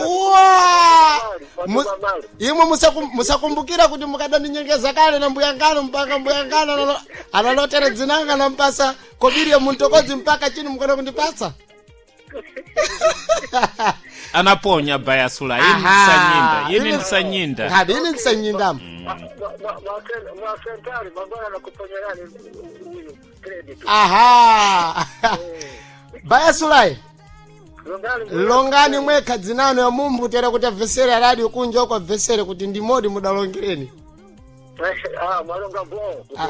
Uwa! Imwe musakumbukira kuti mukadaninyengeza kale na mbuyangano mpaka mbuyangano analotera dzinanga nampasa kobiri muntokodzi mpaka chini mukona kundipasa. Anaponya bayasula ini Aha. ndisanyinda, ini ndisanyinda. Ngabe ini ndisanyindamo. Mwasentari mangwana nakuponyerani uyu credit. Aha, bayasulai. Longani. Longani mwekha dzinano ya mumbu tera kuti abvesere radio kunja uko, abvesere kuti ndimodi mudalongereni. Ah, mwalonga bon. Ah.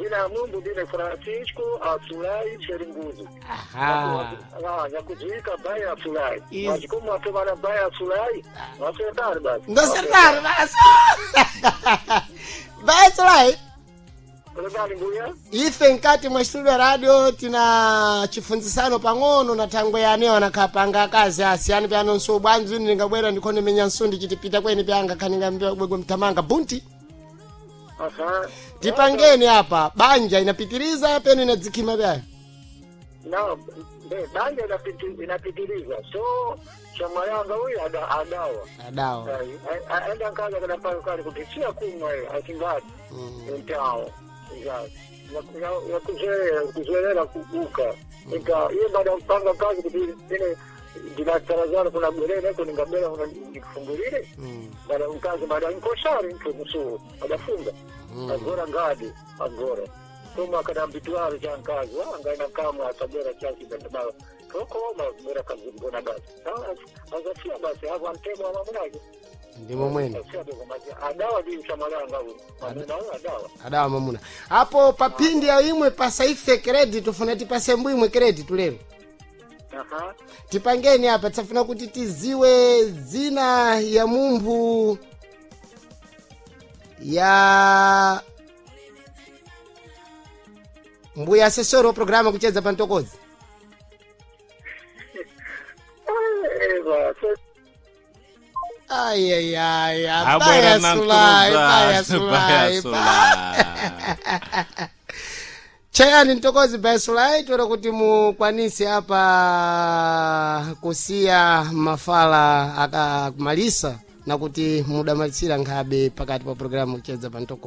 Zina ya Mungu ndine Francisco Asulai Cheringuzu. Aha. Ah, nyakudziwika Baya Asulai. Is- Mwachikomo atomana Baya Asulai. Mwasentari basi. Ndosertari basi. Bayasulai. Longani mbuya. Ife nkati mwa studio radio tina chifunzisano pang'ono na thangwe yaneyo anakhapanga akazi asiyani pyano nso bwanji ine ndingabwera ndikhone menya nsundi chitipita kweni pyanga khaninga bwegwe mthamanga bunti. Aha. Tipangeni apa banja inapitiriza peno inadzikhima pyayo. No, banja inapitiliza. So chamayanga huyu adawa. Adawa. Aenda nkaza kana pale kale kuti kumwa hiyo asingati. Mtao. Ya kuzoelera kuzoelera kubuka. Nika hiyo baada ya kupanga kazi kuti ile ndinatarajana kuna bwerere ko ningabera kuna nikufungulire. Baada mkazi baada nkoshari mtu msuu adafunga. Agora ngadi agora. Koma kada mbitwaro cha nkazi wa ngaina kama atabera chaki benda toko ma bera kazi mbona basi. Azafia basi hapo antemo wa mamunake. Ndimo mwene. Azafia dogo maji adawa di chamalanga huyu. Mamuna huyu adawa. Adawa mamuna apo papindi ya imwe pasaife credit tufuna tipase mbwimwe credit lero. Aha. Tipangeni apa tisafuna kuti tiziwe dzina ya munthu ya mbuya asesori wa programa kucheza pantokozi. Eva, so Ayayaya. Abwera na Bayasulai. mkuruza. Bayasulai. Bayasula. Chayani mtokozi bayasulai toera kuti mukwanise apa kusiya mafala akamalisa na kuti mudamalisira nkhabe pakati pa programu kucheza pantokozi.